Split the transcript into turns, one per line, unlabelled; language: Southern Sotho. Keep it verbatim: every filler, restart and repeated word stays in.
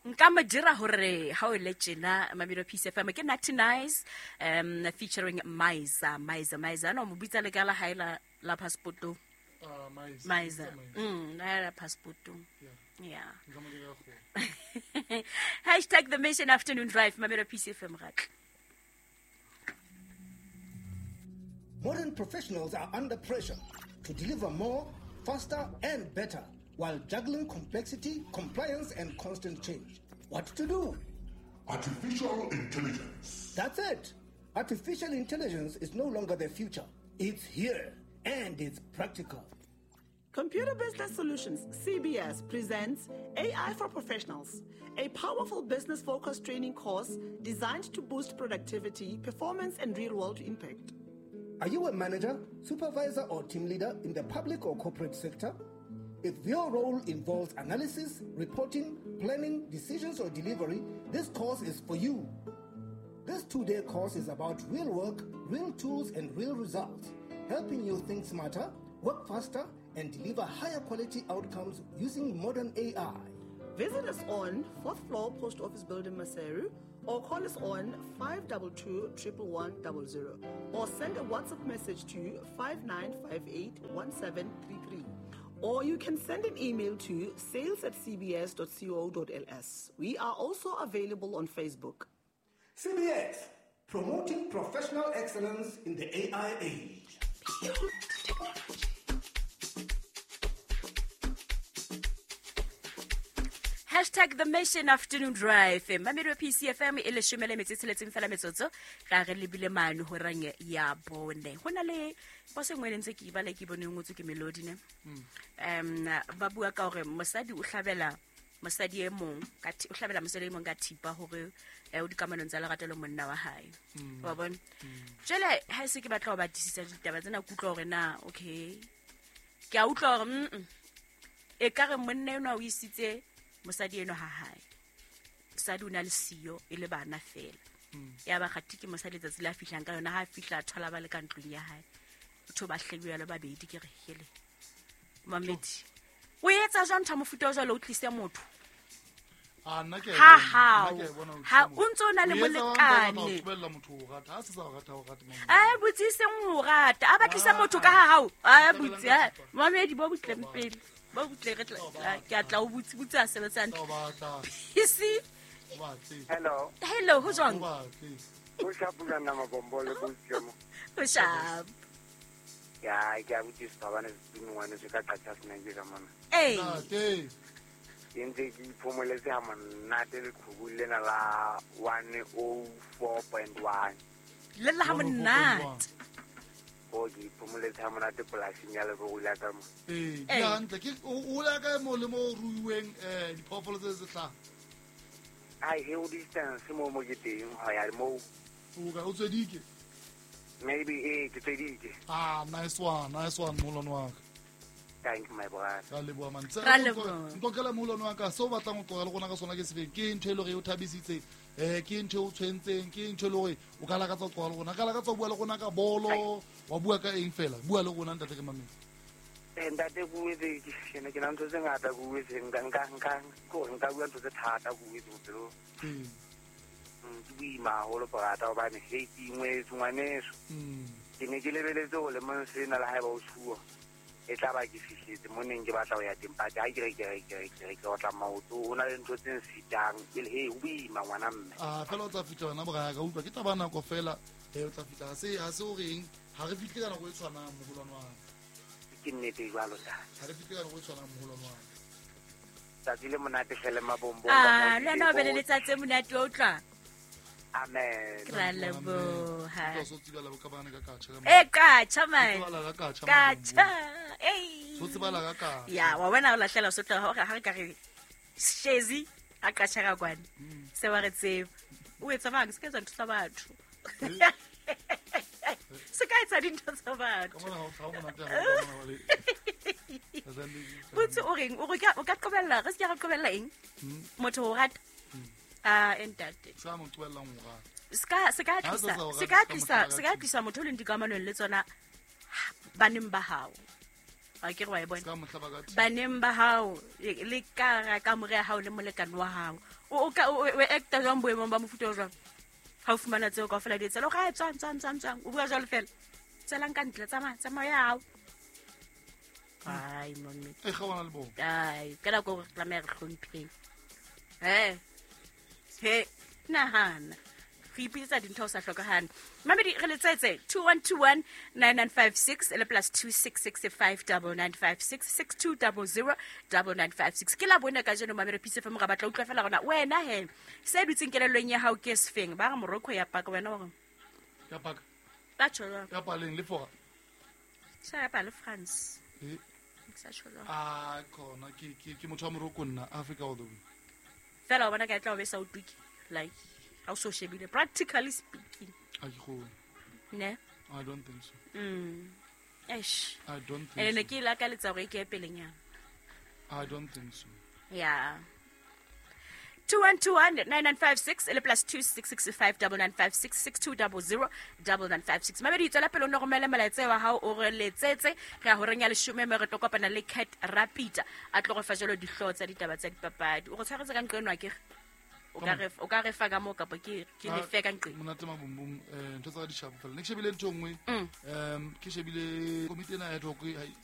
Nka mo dira hore ha o le tjena Mamelo Peace F M ke Natty Nice um featuring Maiza Maiza Maiza no mo bitsa le ka la hae la la passport.
Ah Maiza.
Maiza. Mm, la la passport.
Yeah.
Yeah. Hashtag the Mission Afternoon Drive Mamelo Peace F M ratla.
Modern professionals are under pressure to deliver more, faster and better while juggling complexity, compliance and constant change. What to do?
Artificial intelligence.
That's it. Artificial intelligence is no longer the future. It's here and it's practical.
Computer Business Solutions, C B S, presents A I for Professionals, a powerful business-focused training course designed to boost productivity, performance, and real-world impact.
Are you a manager, supervisor, or team leader in the public or corporate sector? If your role involves analysis, reporting, planning, decisions, or delivery, this course is for you. This two-day course is about real work, real tools, and real results, helping you think smarter, work faster, and deliver higher quality outcomes using modern A I.
Visit us on fourth floor Post Office Building, Maseru, or call us on five two two, one one one zero zero, or send a WhatsApp message to five nine five eight, one seven three three. Or you can send an email to sales at c b s dot co dot l s. We are also available on Facebook.
C B S, promoting professional excellence in the A I age.
Hashtag the Mission Afternoon Drive. Mamelo P C F M e leshome le metso e tsheletseng fela metsotso ra re lebile mane horeng ya bone. Ho na le poso e nngwe e ntse ke ibala ke bone e ngotswe ke Melody ne. Um ba bua ka hore mosadi o hlabela mosadi e mong ka o hlabela mosadi e mong ka thipa hore o dikamanong tsa lerato le monna wa hae. Wa bona? Jwale ha se ke batla ho batlisisa ditaba tsena kutlwa hore na okay. Ke a utlwa hore mm e ka re monna enwa o isitse mosadi eno ha hae. Mosadi o na le siyo e le bana fela. Ya ba kgathi ke mosadi letsatsi la fihlang ka yona ha fihla thola ba le ka ntlong ya hae. Batho ba hlebiwa le babedi ke re hele. Mamedi. O etsa jwang ntho mofuta o jwalo o tlise motho?
Ah nna ke
ha ha ha o ntso na le molekane. A botsiseng ho rata. A batlisa motho ka ha hao. A botse. Mamedi bo butleng pele. Ba butle re tla ke a tla o butse butse a sebetsa hantle. Isi.
Hello.
Hello, ho jwang?
Ho shapo na mabombole butse mo.
Ho shapo.
Ya ke a butse sabane se ngwane se ka qatsa sena ke ka mona.
Eh.
Ke ntse ke iphomoletse ha monate le qhubu lena la one oh four point one.
Le la ha monate.
O ke iphomoletse ha monate polasing ya Lebogo la ka mo.
Eh, ke hantle ke o la ka mo le mo ruiweng eh diphoofolo tse tse hlaha.
Ai he o distance mo mo ke teng ho ya mo.
O ka o tswedike.
Maybe eh ke tswedike.
Ah, nice one, nice one molwane wa ka.
Thank you my brother.
Ra leboha man.
Ra leboha.
Ntlokela molwane wa ka so batlang ho qoga le rona ka sona ke sefeng ke ntho e le hore o thabisitse. Eh ke ntho o tshwentseng ke ntho le hore o ka lakatsa ho qoga le rona ka lakatsa ho bua le rona ka bolo wa bua ka eng fela bua le rona ntate ke mametse.
Eh ntate buetse ke ne ke na ntho tse ngata buetse nka nka nka ko nka bua ntho tse thata buetse bophelo.
Mm.
Ke boima haholo porata hobane he ke ingwetse ngwaneso.
Mm.
Ke ne ke lebeletse ho le mong sena le haeba o tshuwa. E tla ba ke fihletse mo neng ke batla ho ya teng but ha ke re ke re ke re ke re ke otla maoto ho na le ntho tse nsitang ke le he ho boima ngwana mme.
Ah fela o tla fihla wena boraya ka utlwa ke taba nako fela eh o tla fihla ha se ha se o reng ha re fihle ka nako e tshwanang moholwane wa ka.
Ke nnete jwalo ntate.
Ha re fihle ka nako e tshwanang moholwane wa ka.
Tsatsi le monate hle le mabombo.
Ah le wena o be le letsatsi le monate wa utlwa.
Amen.
Ra leboha.
Ke so tsibala ka bana ka katjha ka.
Eh katjha man.
Tsibala ka katjha.
Katjha. Ei.
So tsibala ka katjha.
Ya wa wena o lahlela so tla hore ha re ka re Shezi a katjha ka kwana. Se wa re tseba. O etsa bang se ka etsa ntho tsa batho. Se ka etsa dintho tsa batho.
Ka mona ha o monate ha o bona le.
Botse o reng o re o ka qobella re se ka qobella eng? Motho o rata. Ah entate.
Sa mo qobellang ho rata.
Ska se ka tlisa se ka tlisa se ka tlisa motho le dikamanong le tsona baneng ba hao. A ke re wa e bona
Se ka mohla ba ka thi-
baneng ba hao le le ka hara kamore ya hao le molekane wa hao o o ka o o acta jwang boemong ba mofuta o jwang ha o fumana tseo kaofela di etsela o ga tswang tswang tswang tswang o bua jwalo fela tswelang ka ntle tsamaya tsamaya ya hao ai momme
e kgaoana le bona
ai ka nako re tlameha re hlompheng e he nahana re ipitsetsa dintho ho sa hlokahane mamedi re letsetse two one two one nine nine five six le plus two six six five double nine five six six two double zero double nine five six ke la bone kajeno mamedi Peace FM ra batla utlwa fela rona wena he se dutseng kelellong ya hao ke sefeng ba re morocco ya paka wena wa re
ya paka
ba tjho jwang
ya paleng le fora
sa ya pa le france
Eh,
Ke sa tjho jwang
a khona ke ke ke motho wa morocco nna africa all the way
fela wa bona ka e tla o be sa o tuke like ha o so shebile practically speaking
a ke kgone
ne
i don't think so
mm eish
i don't
ene ne
think
ke e lakaletsa hore e ke ye pelenyana
so i don't think so
ya two one two one nine nine five six le plus two six six five double nine five six six two double zero double nine five six mamedi tswela pele o nno romele molaetsa wa hao o re letsetse re ya horeng ya leshome mme re tlo kopana le cat rapita a tlo go fa jalo dihlooho tsa ditaba tsa dipapadi o go tshwaretse ka nqo eno akere o ka re o ka re fa ka moo kapa ke ke
Ah,
lefe ka nqeng
monate mabumbum um ntho tsa ka di shapo fela ne ke shebile ntho e nngwe
Mm.
um ke shebile komiti ena ya ad hoc ha-